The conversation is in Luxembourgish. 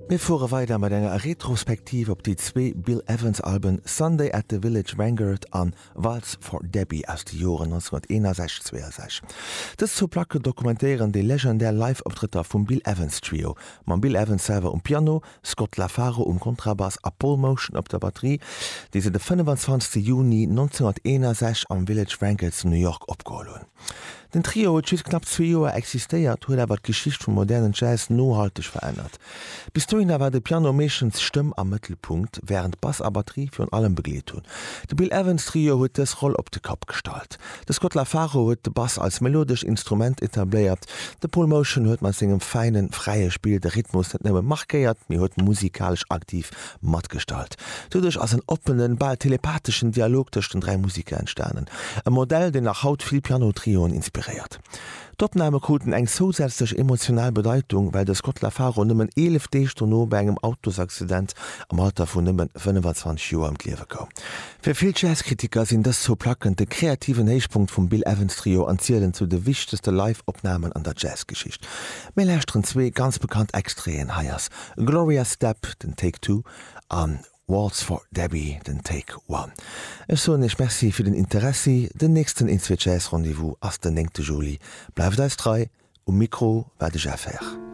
Mir fuere weider mat enger Retrospektiv op déi zwee Bill Evans Alben Sunday at the Village Vanguard an Waltz for Debby aus de Joren 1961, 62. Dës zwou Placke dokumentéieren déi legendär Live-Optrëtter vum Bill Evans Trio, mam Bill Evans selwer um Piano, Scott LaFaro um Kontrabass a Paul Motian op der Batterie, déi se de 25 Juni 1961 am Village Vanguard zu New York opgeholl hunn. Den Trio huet just knapp zwee Joer existéiert, huet awer d'Geschicht vum modernen Jazz nohalteg verännert. Bis dohinner war de Piano meeschtens d'Stëmm am Mëttelpunkt, wärend Bass a Batterie virun allem begleet hunn. De Bill Evans Trio huet dës Roll op de Kapp gestallt. De Scott LaFaro huet de Bass als melodescht Instrument etabléiert, de Paul Motian huet mat sengem fäinen, fräie Spill de Rhythmus net nëmme markéiert, mee huet musikalesch aktiv matgestalt. Doduerch ass en oppenen, bal telepatheschen Dialog tëscht den 3 Musiker entstanen. E Modell, deen nach haut vill Piano-Trioen inspiréiert. D'Opname kruten eng zousätzlech emotional Bedeitung, well de Scott LaFaro nëmmen 11 Deeg dono bei engem Autosaccident am Alter vun nëmmen 25 Joer ëm d'Liewe koum. Fir vill Jazzkritiker sinn dës zwou Placken de kreativen Héichpunkt vum Bill Evans Trio an zielen zu de wichtegste Live-Opnamen an der Jazzgeschicht. Mir lauschteren zwee ganz bekannt Extraiten, hei ass Gloria Stepp, den Take Two, an Waltz for Debby, den Take One. Ech soen iech Merci fir den Interessi. Den nächsten Een Zwee Jazz Rendez-vous ass den 9 Juli. Bleift eis trei. Um Mikro war de Jeff Herr.